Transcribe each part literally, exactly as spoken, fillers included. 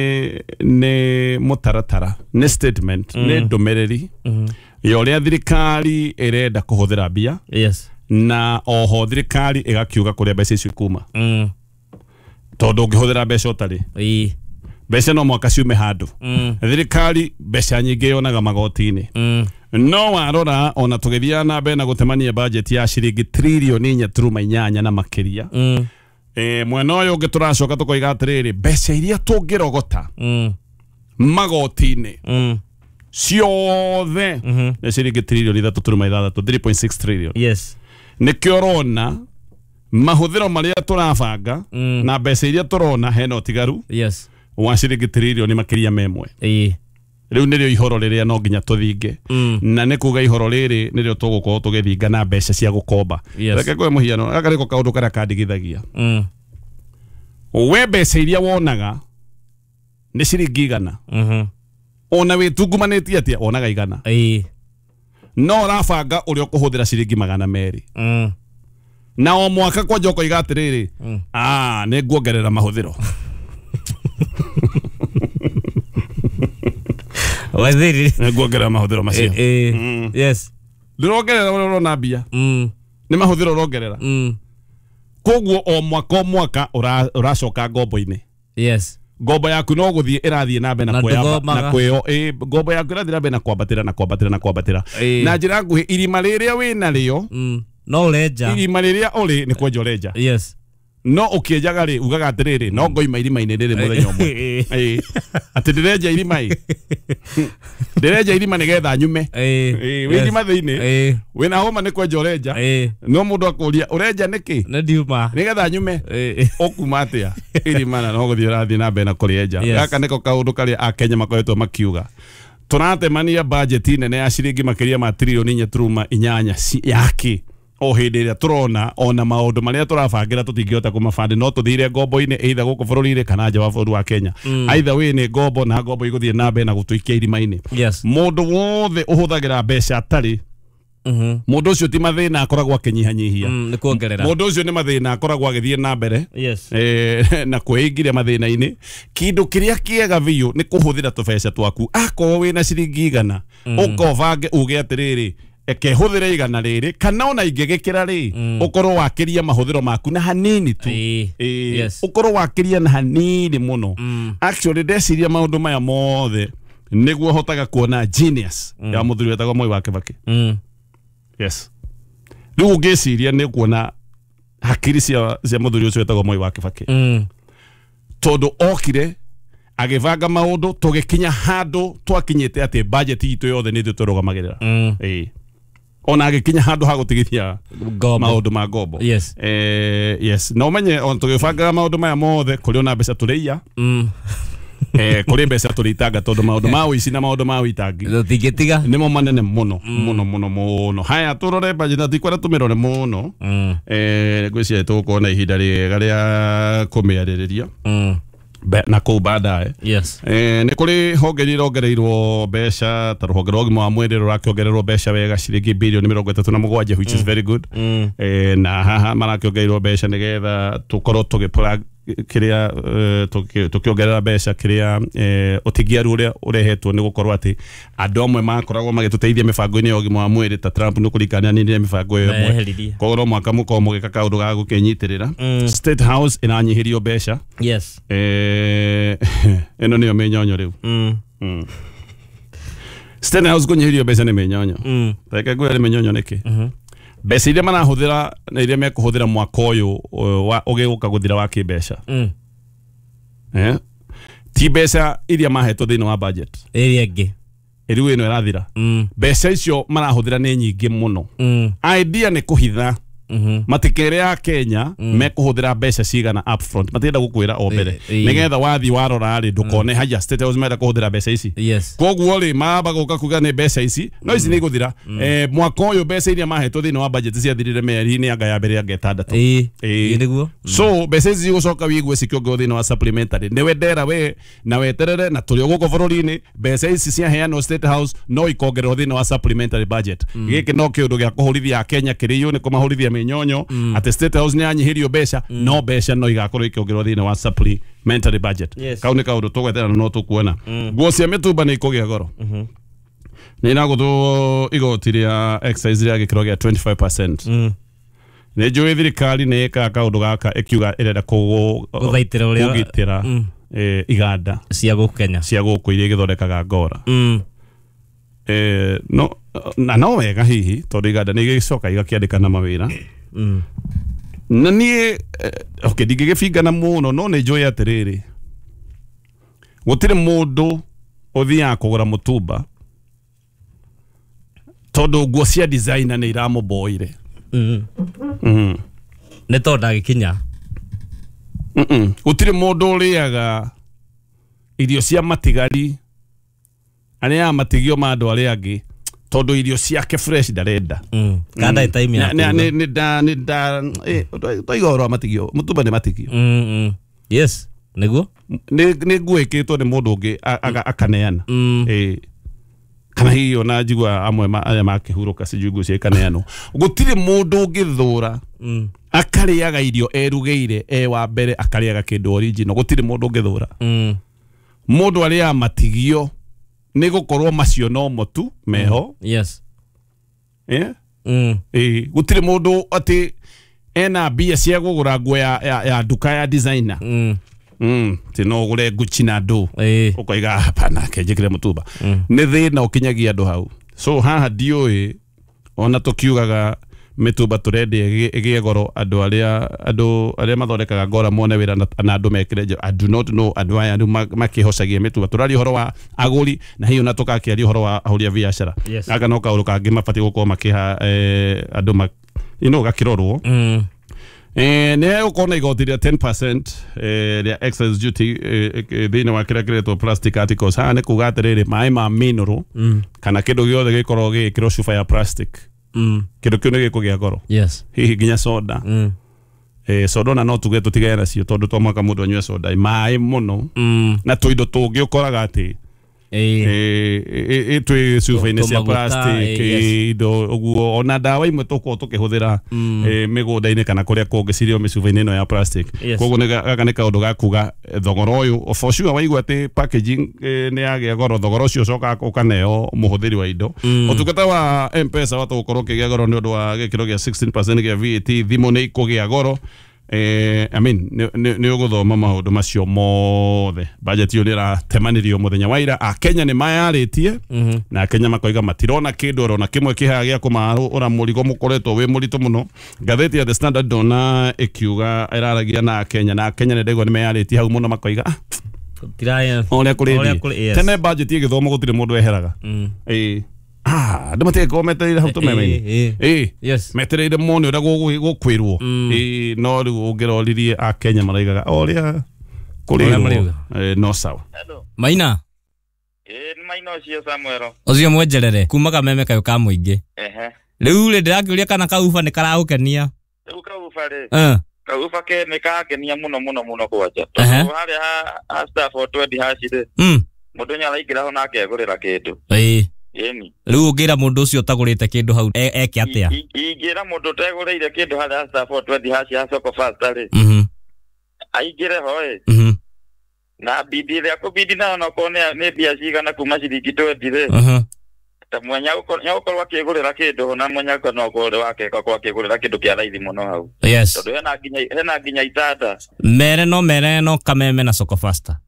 Nĩ mũtaratara, nĩ statement, nĩ ndũmĩrĩri ya ũrĩa thirikari ĩrenda kũhũthĩra mbia. Yes. Na oho thirikari ĩgakiuga kũrĩa mbeca icio ikuma. Mm. Tondũ ũngĩhũthĩra mbeca ũtarĩ, Ĩĩ. mbeca no mwaka ciume handũ. Mm. Thirikari mbeca nyingĩ yonaga magoti-inĩ. Mm. No warora ona tũgĩthiaga na mbere na gũtemania budget ya ciringi tririoni inya turuma inyanya na makĩria. Mm. E, mwena ũyũ ũngĩ tũracoka tũkoiga atĩrĩrĩ, mbeca iria tũngĩrogota Mm. magoti-inĩ Mm. ciothe Mhm. nĩ ciringi tririoni ithatũ turuma ithathatũ, three point six trillion. Yes. Nĩkĩo ũrona mahũthĩro marĩa tũrabanga Mm. na mbeca iria tũrona hena ũtigaru Yes. wa ciringi tririoni makĩria ma ĩmwe. Ĩĩ. Rĩu nĩrĩo ihoro rĩrĩa no nginya tũthinge. Mm. Na nĩ kuga ihoro rĩrĩ nĩrĩo tũgũkorwo tũgĩthinga na mbeca cia gũkomba. Yes. Reke ngũhe mũhiano, gaka nĩko kaũndũ karĩa kandigithagia. Mm. We mbeca iria wonaga nĩ ciringi igana. Mhm. Ona wĩtungumanĩtie atĩa wonaga igana. Ĩĩ. No ũrabanga ũrĩa ũkũhũthĩra ciringi magana merĩ. Mm. Na o mwaka kwanja ũkoiga atĩrĩrĩ, Mm. ah, nĩ nguongerera mahũthĩro. Waziri. Nĩ nguongerera mahũthĩro macio. Ĩĩ. Mm. Yes. Ndũrongerera ũrĩa ũrona mbia. Mm. Nĩ mahũthĩro ũrongerera. Mm. Koguo o mwaka o mwaka ũra- ũracoka ngombo-inĩ. Yes. Ngombo yaku no gũthiĩ ĩrathiĩ na mbere na Na kwĩyamba- ndũthomaga. na kwĩyo- ĩ, ngombo yaku ĩrathiĩ na mbere na kwambatĩra na kwambatĩra na kwambatĩra. Ĩĩ. Na njĩra nguhĩ, irima rĩrĩa wĩna rĩo, Mm. No ũrenja. irima rĩrĩa ũrĩ nĩ kwenja ũrenja. Yes. No ũkĩenjaga rĩ, ugaga atĩrĩrĩ, no ngoima irima-inĩ rĩrĩ mũthenya ũmwe. Ĩĩ. Atĩ ndĩrenja irima ĩ. Ndĩrenja irima nĩgetha nyume. Ĩĩ. Ĩĩ, wĩ Yes. irima thĩinĩ. Ĩĩ. Wĩna homa nĩ kwenja ũrenja. Ĩĩ. No mũndũ akũria ũrenja nĩkĩ? Nĩ ndiuma. Nĩgetha nyume. Ĩĩ. Ũkuma atĩa? Irima na no gũthiĩ ũrathiĩ na mbere na kũrĩenja. Yes. Gaka nĩko kaũndũ karĩa Akenya makoretwo makiuga. Tũratemania bajeti nene ya ciringi makĩria ma tririoni inya turuma inyanya ci- yake. O hĩndĩ ĩrĩa tũrona ona maũndũ marĩa tũrabangĩra tũtingĩhota kũmabandi, no tũthire ngombo-inĩ either gũkũ bũrũri-inĩ kana nja wa bũrũri wa Kenya. Mm. Either way nĩ ngombo, na ngombo igũthiĩ na mbere na gũtũikia irima-inĩ. Yes. Mũndũ wothe ũhũthagĩra mbeca atarĩ, Mhm. mũndũ ũcio ti mathĩna akoragwo akĩnyihanyihia. Mm, nĩ kuongerera. Mũndũ ũcio nĩ mathĩna akoragwo agĩthiĩ na mbere. Yes. Eh, na kwĩingĩria mathĩna-inĩ. Kĩndũ kĩrĩa kĩega biũ nĩ kũhũthĩra tũbeca twaku. Akorwo wĩna ciringi igana, Mm. ũka ũbange uge atĩrĩrĩ, eke hũthĩre igana rĩrĩ kana ona ingĩgĩkĩra rĩ, Mm. ũkorwo wakĩria mahũthĩro maku na hanini tu. Ĩĩ. Ĩĩ, Yes. ũkorwo wakĩria na hanini mũno. Mm. Actually ndeciria maũndũ maya mothe nĩguo hotaga kuona genius Mm. ya mũthuri wetagwo Mwai wa Kibaki. Mm. Yes. Rĩu ũngĩciria nĩ kuona hakiri cia cia mũthuri ũcio wetagwo Mwai wa Kibaki. Mm. Tondũ okire agĩbanga maũndũ tũgĩkinya handũ twakinyĩte atĩ budget itũ yothe nĩ ithuĩ tũrũgamagĩrĩra. Mm. Ĩĩ. Ona agĩkinya handũ ha gũtigithia Ngombo. maũndũ ma ngombo. Yes. Eh, yes. Na ũmenye ona tũgĩbangaga maũndũ maya mothe kũrĩ ona mbeca tũrĩiya. Mm. Eh, kũrĩ mbeca tũrĩitanga tondũ maũndũ ma ũici na maũndũ ma ũitangi Tũtingĩtiga. nĩmo manene mũno mũno mũno mũno. Haya tũrore budget na tikwenda tũmĩrore mũno. Mm. Eh, ngwĩciria tũgũkorwo na ihinda rĩega rĩa kũmĩarĩrĩria. Mm. Be- na kũu baadaye. Yes. Eh, nĩ kũrĩ honge iria irongereirwo mbeca ta rũhonge rwa ũgima wa mwĩrĩ rũrakĩongererwo mbeca wega ciringi bilioni mĩrongo ĩtatũ na mũgwanja, which is very good. Mm. Eh, na haha marakĩongereirwo mbeca nĩgetha tũkorwo tũgĩpũra kĩrĩa, eh, tũkĩ- tũkĩongerera mbeca kĩrĩa, eh, ũtingiaru ũrĩa ũrehetwo nĩ gũkorwo atĩ andũ amwe makoragwo magĩtũteithia mĩbango-inĩ ya ũgima wa mwĩrĩ ta Trump nĩ kũringana nĩ mĩbango ĩyo ĩmwe. Meheririe. Koguo no mwaka mũkorwo mũgĩka kaũndũ ga gũkĩnyitĩrĩra. Mm. State House ĩranyihĩrio mbeca. Yes. Eh, ĩno nĩyo mĩnyonyo rĩu. Mm. Mm. State House kũnyihĩrio mbeca nĩ mĩnyonyo. Mm. Reke ngwĩre nĩ mĩnyonyo nĩkĩ. Mhm. Mbeca iria marahũthĩra na iria mekũhũthĩra mwaka ũyũ, uh, wa- ũgĩũka gũthira wa kĩmbeca. Mm. Eh? Ti mbeca iria mahetwo thĩinĩ wa budget. Ĩrĩa ĩngĩ. Rĩu ĩno ĩrathira. Mm. Mbeca icio marahũthĩra nĩ nyingĩ mũno. Mm. Idea nĩ kũhitha. Mhm. Matikere a Kenya mekũhũthĩra mbeca cigana upfront. Matirenda gũkwĩra o mbere. Ĩ- ĩ. Nĩgetha wathiĩ warora rĩ, ndũkone haya State House marenda kũhũthĩra mbeca ici. Yes. Koguo rĩ, mamba gũka kuga nĩ mbeca ici, no ici nĩ igũthira. Eh, mwaka ũyũ mbeca iria mahetwo thĩinĩ wa budget ciathirire mĩeri-inĩ anga ya mbere anga ĩtandatũ. Ĩĩ. Ĩĩ. Ĩĩ nĩguo. So mbeca ici cigũcoka wigue cikĩongererwo thĩinĩ wa supplementary. Nĩwe ndera we na weterere na tũrĩ o gũkũ bũrũri-inĩ, mbeca ici ciaheanwo State House no ikongererwo thĩinĩ wa supplementary budget. Gĩkĩ no kĩũndũ gĩa kũhũrithia Akenya kĩrĩo nĩ kũmahũrithia Nyonyo atĩ State House nĩ yanyihirio mbeca no mbeca no igakorwo ikĩongererwo thĩinĩ wa supplementary budget. Yes. Kau nĩ kaũndũ tũgweterera no tũkuona. Nguo cia mĩtumba nĩ ikũgĩa goro. Nĩ iragũthwo igoti rĩa excise rĩa gĩkĩro gĩa twenty-five percent. Mm. Nĩ njũĩ thirikari nĩ ĩkaga kaũndũ gaka ĩkiuga ĩrenda kũgũ- Gũthaitĩra ũrĩa- kũgitĩra Mm. eh, iganda cia gũkũ Kenya cia gũkũ iria igĩthondekaga ngora. Mm. Eh, no na no wega hihi tondũ iganda nĩ igĩcoka igakĩandĩkana mawĩra. Mm. Na niĩ eh, okay ndingĩgĩbingana mũno no nĩ njũĩ atĩrĩrĩ gũtirĩ mũndũ ũthiaga kũgũra mũtumba tondũ nguo cia designer nĩ iramũboire. Mm. Mm. Nĩ tondũ ndagĩkinya. Mm-mm. Gũtirĩ mũndũ ũrĩaga irio cia matigari arĩaga matigio ma andũ arĩa angĩ tondũ irio ciake fresh ndarenda. Mm. Kana ndarĩ time ya Nĩ- nĩ- kũruga. nĩ- nĩ nda- nĩ nda- eh, twaiga ũhoro wa matigio mũtumba nĩ matigio. Mm, mm. Yes, nĩguo. Nĩ nĩ nguo ĩkĩrĩtwo nĩ mũndũ ũngĩ a- aga- akaneana. Mm. Eh, kana hihi ona njigua amwe ma- arĩa makĩhurũka sijui nguo cia ikaneanwo. Gũtirĩ mũndũ ũngĩthũra Mm. akarĩaga irio erugĩire e wa mbere akarĩaga kĩndũ original. Gũtirĩ mũndũ ũngĩthũra. Mm. Mũndũ arĩaga matigio nĩ gũkorwo macio no mo tu meho. Yes. Eh? Mm. Eh, gũtirĩ mũndũ atĩ ena mbia cia kũgũra nguo ya, ya, ya nduka ya designer. Mm. Mm, ti no ũgũre Gucci na ndũ Eh. ũkoiga hapana kenjĩkĩre mũtumba. Mm. Nĩ thĩna ũkinyagia andũ hau. So haha ndiũĩ ona tũkiugaga mĩtumba tũrendia ĩgĩe ĩgĩe goro andũ arĩa andũ arĩa mathondekaga ngora mone wĩra na, na andũ mekĩre nja. I do not know andũ aya rĩu ma- makĩhocagia mĩtumba. Tũraria ũhoro wa agũri na hihi ona tũgakĩaria ũhoro wa ahũri a biacara. Yes. Gaka no kaũndũ kangĩ mabatiĩ gũkorwo makĩha eh, andũ ma, you know, gakĩrorwo. Mm. Eh, nĩ gũkorwo na igoti rĩa ten percent eh, rĩa excise duty eh, eh, thĩinĩ wa kĩrĩa kĩretwo plastic articles. Haha nĩ kuga atĩrĩrĩ maĩ ma mineral Mm. kana kĩndũ gĩothe gĩkorwo gĩgĩkĩrwo cuba ya plastic Mm. kĩndũ kĩu nĩ gĩkũgĩa goro. Yes. Hihi nginya soda. Mm. Eh, soda ona no tuge tũtigane nacio tondũ to mwaka mũndũ anyue soda maĩ mũno Mm. na tũindo tũngĩ ũkoraga atĩ Eh. eh, eh, eh, twĩ cuba-inĩ cia Tũmaguta, plastic eh, yes. eh, indo ũguo ona ndawa imwe tũkoragwo tũkĩhũthĩra Mm. eh, mĩgũnda-inĩ kana kũrĩa kũngĩ cirĩ o mĩcuba-inĩ ĩno ya plastic. Yes. Koguo nĩ gaka nĩ kaũndũ ga kuga eh, thogora ũyũ for sure waigua atĩ packaging eh, nĩ yagĩa goro thogora ũcio ũcokaga ũkaneo mũhũthĩri wa indo. Mm. Ũtungata wa M-Pesa wata gũkorwo ũkĩgĩa goro nĩ ũndũ wa gĩkĩro gĩa sixteen percent gĩa V A T thimũ nĩ ikũgĩa goro. Eh, I mean, nĩ ũgũthoma maũndũ macio mothe. Budget ĩyo nĩ ĩratemanirio mũthenya wa ira. Akenya nĩ mayarĩtie Mhm. na Akenya makoiga matirona kĩndũ oro na kĩmwe kĩhaga gĩa kũmarũra mũrigo mũkoretwo wĩ mũritũ mũno. Ngathĩti ya The Standard ndona ĩkiuga ĩraragia na Akenya na Akenya nĩ ndaigua nĩ meyarĩtie hau mũno makoiga ah, Tiraya. ũrĩa kũrĩ Ũrĩa thiĩ. kũrĩ- yes. Tene budget ĩgĩthomwo gũtirĩ mũndũ eheraga. Mm. Ĩĩ. Ah, andũ matigĩkorwo metereire hau tũmeme-inĩ. Eh, eh. Ĩĩ. Yes. Metereire mone ũrĩa gũgũ- gũkwĩrwo. Mm. Ĩĩ, no rĩu ũngĩroririe Akenya maraigaga o ũrĩa Ũrĩa kũrĩrwo marauga. Eh, no sawa. Hello. Maina. Ĩĩ nĩ maina ũcio Samuel. Ũcio mwenjerere kuma kameme kayũ ka mũingĩ. Ehe. Rĩu rĩ ndĩrakĩũria kana kauba nĩ karagũkenia. Rĩu kauba rĩ. Eh. Kauba ke nĩ kangenia mũno mũno mũno kwanja. Ehe. Tondũ harĩa ha ha star four twenty hash rĩ. Mm. Mũndũ nĩ araingĩra ho na akegũrĩra kĩndũ. Ĩĩ. Ĩni. Rĩu ũngĩra mũndũ ũcio ũtagũrĩte kĩndũ hau e- eke atĩa? I- i- Ingĩra mũndũ ũtegũrĩire kĩndũ harĩa star four twenty hash ya Soko Fasta rĩ. Mhm. Aingĩre ho ĩ. Mhm. Na bidi ĩrĩa kũbidi nayo nokorwo nĩ nĩ mbia cigana kuma ciringi twenty rĩ. Mhm. Ta mwenya nĩagũkorwo akĩgũrĩra kĩndũ ho na mwenya no akorwo wake akorwo akĩgũrĩra kĩndũ kĩa raithi mũno hau. Yes. Tondũ hena nginya hena nginya itanda. Mere no mere no kameme na Soko Fasta.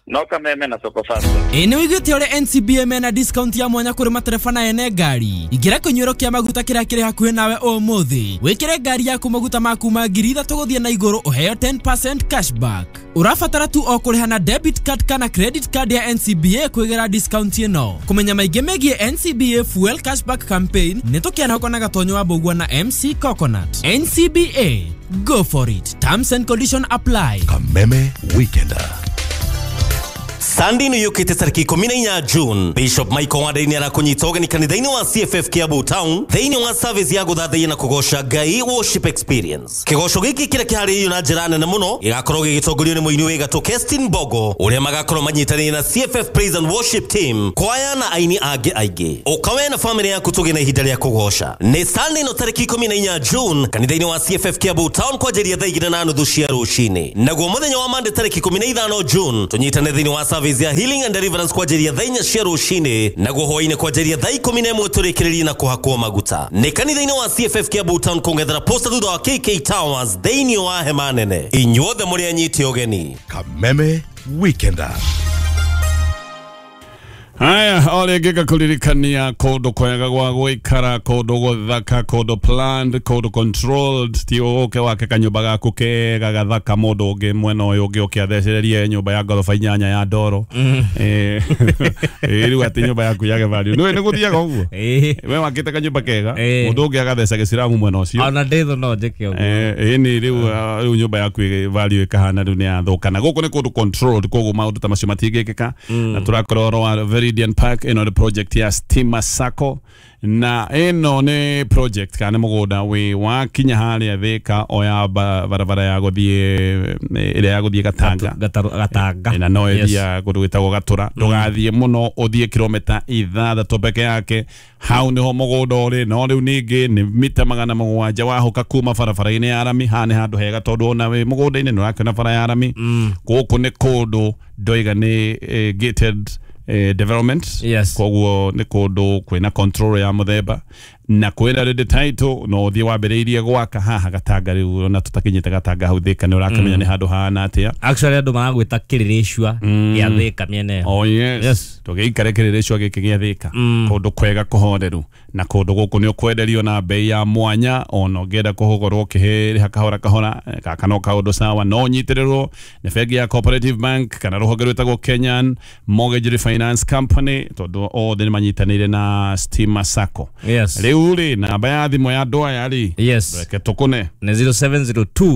No kameme na Soko Fasta. Ĩ nĩ wĩiguĩte ũrĩa N C B A mena discount ya mwanya kũrĩ matereba na ene ngari. Ingĩra kĩnyuĩro kĩa maguta kĩrĩa kĩrĩ hakuhĩ nawe ũmũthĩ. Wĩkĩre ngari yaku maguta ma kuma ngiri ithatũ gũthiĩ na igũrũ ũheo ten percent cashback. Ũrabatara tu o kũrĩha na debit card kana credit card ya N C B A kwĩgĩra discount ĩno. Kũmenya maingĩ megiĩ N C B A Fuel Cashback Campaign nĩ tũkĩanahũka na Gatonyo wa Mbũgua na M C Coconut. N C B A, go for it. Terms and conditions apply. Kameme Weekender. Sunday nĩ yũkĩte tarĩki ikũmi na inya June. Bishop Michael Wandai nĩ arakũnyita ũgeni kanitha-inĩ wa C F F Kiambu Town thĩinĩ wa service ya gũthathaiya na kũgoca Ngai worship experience. Kĩgoco gĩkĩ kĩrĩa kĩharĩrĩirio na njĩra nene mũno gĩgakorwo gĩgĩtongorio nĩ mũini wĩ gatũ Kestin Bogo ũrĩa magakorwo manyitanĩire na C F F Praise and Worship Team, kwaya na aini angĩ aingĩ. Ũka we na famĩlĩ yaku tũgĩe na ihinda rĩa kũgoca. Nĩ Sunday no tarĩki ikũmi na inya June kanitha-inĩ wa C F F Kiambu Town kwanjĩrĩria thaa igĩrĩ na nuthu cia rũcinĩ. Naguo mũthenya wa Monday tarĩki ikũmi na ithano June tũnyitane thĩinĩ wa service ya healing and deliverance kwanjĩrĩria thaa inya cia rũcinĩ, naguo hwaĩ-inĩ kwanjĩrĩria thaa ikũmi na ĩmwe tũrĩkĩrĩrie na kũhakwo maguta. Nĩ kanitha-inĩ wa C F F Kiambu Town kũng'ethera posta thutha wa K K Towers thĩinĩ wa hema nene. Inyuothe mũrĩ anyiti ũgeni. Kameme Weekender. Haya, ole gika kuririkania kundu kwega gwa gwikara, kundu guthaka, kundu planned, kundu controlled, ti uke wake kanyumba gaku kega gathaka mundu ungi mwena uyu ungi ukiathecererie nyumba ya ngoroba inyanya ya ndoro. Eh, riu ati nyumba yaku yage value. Niwe niguthiaga uguo. We wakite kanyumba kega, mundu ungi agatheca giciramu mwena ucio. Ona nditho no njike uguo. Eh, ni riu riu nyumba yaku value ikahana riu ni yathuka. Na guku ni kundu controlled, koguo maundu ta macio matingikika. Na turakorwo ro Veridian Park ino the project ya Stima Sacco na ino ni project kana mugunda wi wakinya haria Thika oya barabara ya guthie ira ya guthie Gatanga Gatanga na no ithia kundu gwitagwo Gatura. Ndugathie muno uthie kilomita ithathatũ peke yake hau niho mugunda uri. No riu ningi ni mita magana mugwanja wahuka kuma barabara-inĩ ya rami. Haha nĩ handũ hega tondu ona wi mugunda-inĩ nĩ ũrakiona bara ya rami. Gũkũ nĩ kũndũ ndoiga nĩ gated Eh, development. Yes. Koguo nĩ kũndũ kwĩna control ya mũthemba na kwĩna ready title no ũthiĩ wambĩrĩirie gwaka haha Gatanga rĩu ona tũtakinyĩte Gatanga hau Thika nĩ ũrakĩmenya nĩ handũ hahana atĩa. Actually andũ maragwĩta kĩrĩrĩcua gĩa Thika mĩena ĩyo. Oh yes. Yes. Tũgĩikare kĩrĩrĩcua gĩkĩ gĩa Thika. Kũndũ kwega kũhoreru na kũndũ gũkũ nĩ ũkwenderio na bei ya mwanya ona ũngĩenda kũhũgũrwo ũkĩrĩha kahora kahora gaka no kaũndũ sawa. No ũnyitĩrĩrwo nĩ bengi ya Cooperative Bank kana rũhonge rwĩtagwo Kenyan Mortgage Refinance Company tondũ othe nĩ manyitanĩire na Stima Sacco. Yes. Rĩu rĩ namba ya thimũ ya andũ aya rĩ Yes. reke tũkũne Nĩ zero seven zero two